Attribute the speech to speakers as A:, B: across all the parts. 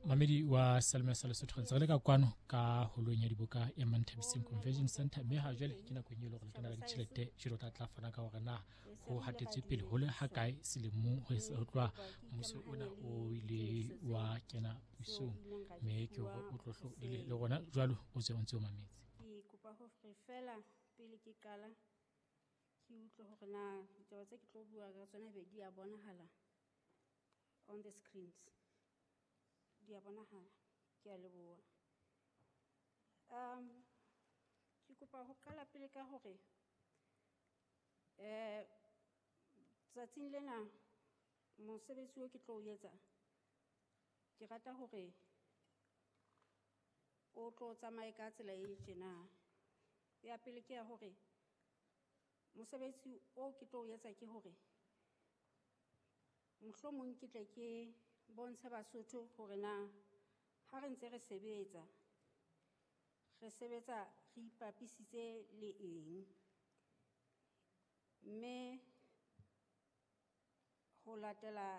A: Mamedi wa Salome sa Lesotho, re ntse re le ka kwano ka holong ya diboka ya Manthabiseng Convention Center, mme ha jwale ke nakong e le hore letona la ditjhelete Tjiro tla tla fana ka hore na ho hatetswe pele ho le ha kae selemong ho tloha mmuso ona o ile wa kena pusong, mme ke hore o tlo le rona jwalo o tse o ntse o mametse.
B: Ke kopa hore fela pele ke qala ke utlwe hore na ditaba tse ke tlo bua ka tsona be di a bonahala on the screens. Di a bonahala, ke a leboha. Ke kopa ho qala pele ka hore tsatsing lena mosebetsi o ke tlo o etsa, ke rata hore o tlo tsamaye ka tsela e tjena. Ya pele ke ya hore mosebetsi o ke tlo o etsa ke hore mohlomong ke tle ke bontshe Basotho hore na ha re ntse re sebetsa, re sebetsa re ipapisitse le eng, mme ho latela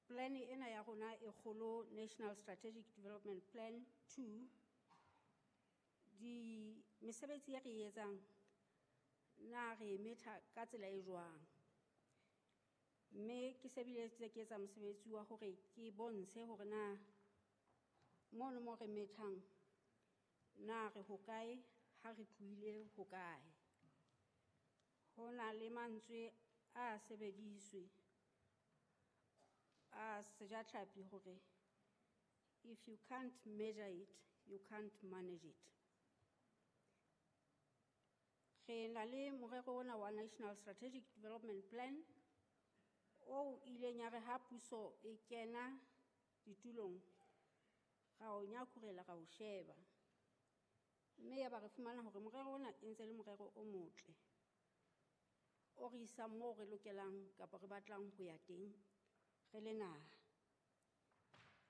B: plan ena ya rona e kgolo, National Strategic Development Plan 2, di mesebetsi e re e etsang na re e metha ka tsela e jwang. Mme ke se bile tse ke etsa mosebetsi wa hore ke bontshe hore na mono mo re methang na re hokae, ha re tlohile hokae. Ho na le mantswe a sebediswe a sejatlhapi hore if you can't measure it, you can't manage it. Re na le morero ona wa National Strategic Development Plan o ileng ya re ha puso e kena ditulong, ra o nyakurela, ra o sheba. Mme ya ba re fumana hore morero ona e ntse le morero o motle, o re isang moo re lokelang kapa re batlang ho ya teng re le naha.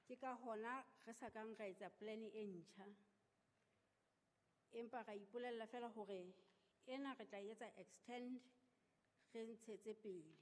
B: Ke ka hona re sa kang ra etsa plan e ntjha, empa ra ipolella fela hore ena re tla etsa extend, re ntshetse pele.